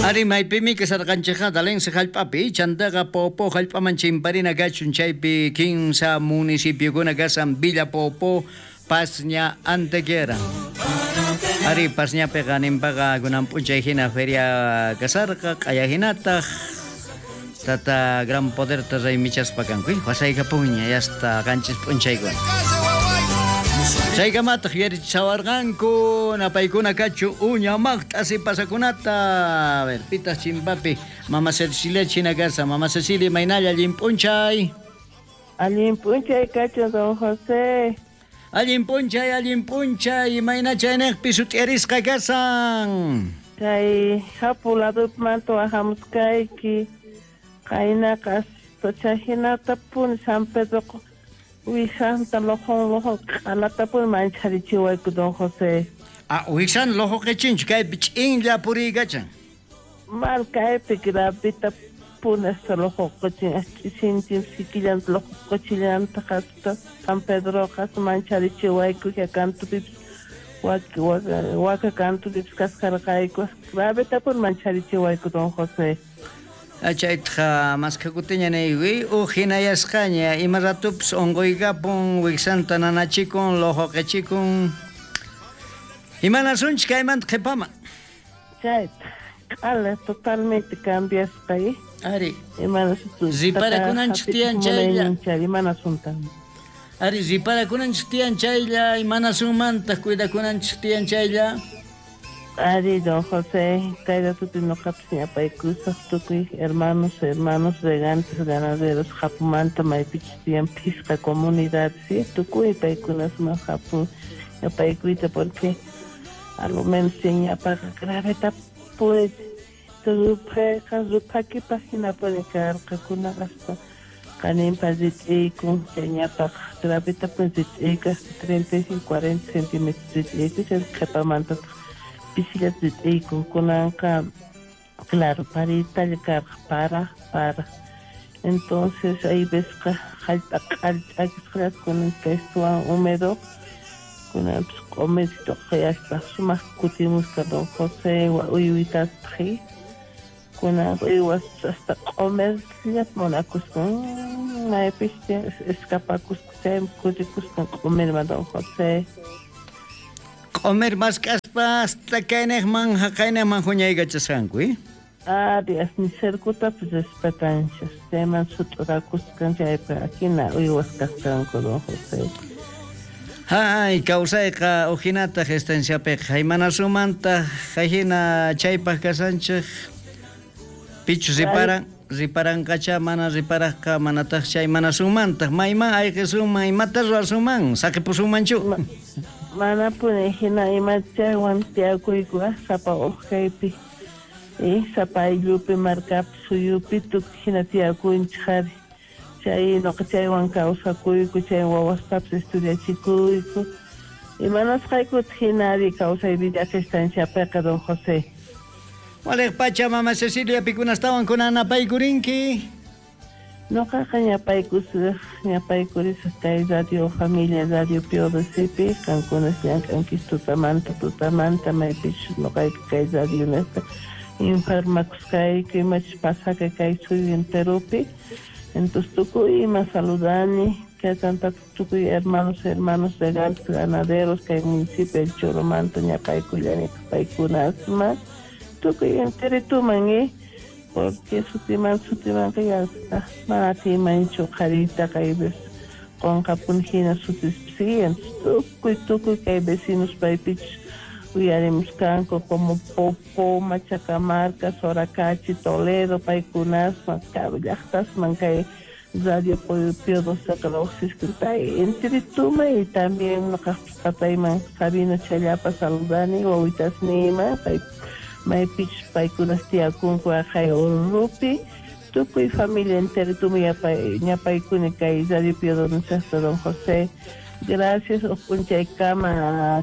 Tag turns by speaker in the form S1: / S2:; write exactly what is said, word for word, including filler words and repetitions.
S1: Ari maypimi kasarqanchikqa Dalense hallp'api, chantaqa Poopó hallp'aman chimparina kachun, chaypi kinsa municipiokuna kasan Villa Poopó, Pasña, Antequera. Ari Pasñapiqa ninpaqa kunan p'unchay hina feria kasarqa, q'aya hinataq tata Gran Poderta raymichaspa kanku, wasaykapunña hasta qanchis p'unchaykuna. Chaykamataq yuyarichisawarqanku napaykuna kachu uña maqt'asi pasakunata. A ver, pitaq chimpapi Mama Cecilia china kasa. Mama Cecilia, imaynalla allin p'unchay.
S2: Allin p'unchay kachu don José.
S1: Allin p'unchay, allin p'unchay, imayna chayniqpi sut'iarisqa kasan.
S2: Kay hapu ladupimanta wajamuskayki, qaynaqa chayhinatapuni San Pedro wijanta lojon lojon q'alatapuni mancharichiwayku don José.
S1: Ah, wijsan lojo qichinchu kaypi ch'inlla puriykachan.
S2: Mal kaypi gravitapuni hasta lojo qichin, ch'isintin sikillanta lojo qichillanta hasta San Pedroqa mancharichiwayku kantupipis waka waka kantupipis kasqarqayku gravitapuni mancharichiwayku don José.
S1: Chaytaqa maskakutiña niykuy uj hinayasqaña ima ratupis unquykapun wiksanta nanachikun lojo qichikun imanasunchik kaymanta qhipaman.
S2: Chayta q'ala totalmente cambiasqa eh?
S1: Ari
S2: imanasunta
S1: riparakunanchik tiyan chaylla
S2: imanasunta.
S1: Ari riparakunanchik tiyan chaylla imanasunmantaq cuidakunanchik tiyan chaylla.
S2: Ari, don José, kay ratupi noqapis ñapaykusaq tukuy hermanos, hermanos regantes, ganaderos, Japumanta, maypichus tiyan phisqa comunidad, ¿sí? Tukuy paykunasman Japun ñapaykuyta porque a lo menos ñapaqa gravetapuni ruphayqa ruphakipaq hinapuni karqakuna hasta qaninpa rit'iykun chay ñapaqa gravetapuni rit'iyku hasta treinta y cinco, cuarenta centímetros rit'iyku chay qhipamantataq pisillata rit'iykun kunanqa claro paritalla karqa para para entonces hay vesqa hallp'a q'ali ch'akisqallata kunan kaystuwan húmedo kunanpis q'umirito qhayaspa sumaq kutimusqa don José uywitataq kunan uywas hasta q'umirllata munakusqa maypis escapakusqa chaymi kutikusqa q'umirman don José.
S1: Q'umir mask'aspa hasta kayniqman haqayniqman huñaykachasqanku, eh?
S2: Ari, asni cercotapis respetanchis, chayman sut'urakusqan chaypi hina uywas kasqanku don José.
S1: Hay, kawsayqa uhinataq estanciapiqa imanasumantaq hina chaypaq kasanchik pichus riparan riparanqacha mana riparaqqa manataq chay manasunmantaq mayman ayqisunman imata ruwasunman saqipusunmanchu.
S2: Manapuni hina imachaywan tiyakuyku sapa uj kaypi eh, sapa ayllupi markapi suyupi tukuy hina tiyakunchik ari chay noqa chaywan kawsakuyku chay wawastapis estudiachikuyku imanasqaykutaq hina ari kawsay vida estanciapiqa don José.
S1: Waliq pacha Mama Cecilia pikunastawan kunan napaykurinki.
S2: Noqaqa ñapaykusaq ñapaykurisaq kay Radio Familia Radio Pío Docepi qankunas llank'ankis tutamanta tutamanta maypichus noqayku kay radio nisqa informakusqayku imachus pasaka kay suyu enteropi entonces tukuy ima saludani chaytantataq tukuy hermanos hermanos regantes ganaderos kay municipio El Choromanta ñapaykullanitaq paykunasman tukuy enterituman eh porque sutiman sutimanqa ya mana atiymanchu qhariyta kay qunqapuni hina sutispi tukuy tukuy kay vecinos paypichus uyarimusqanku como Popó, Machacamarca, Soracachi, Toledo paykunasman karu llaqtasman kay Radio Pío Doceqa lluqsisqa enterituma y también noqaqpis patayman Sabino Challapa saludani wawitasniyman pay maypichus paykunas tiyakunku aqhay Urrupi tukuy familia enterituma ñapaykuni kay Radio Pío Doce don José. Gracias uj p'unchaykama.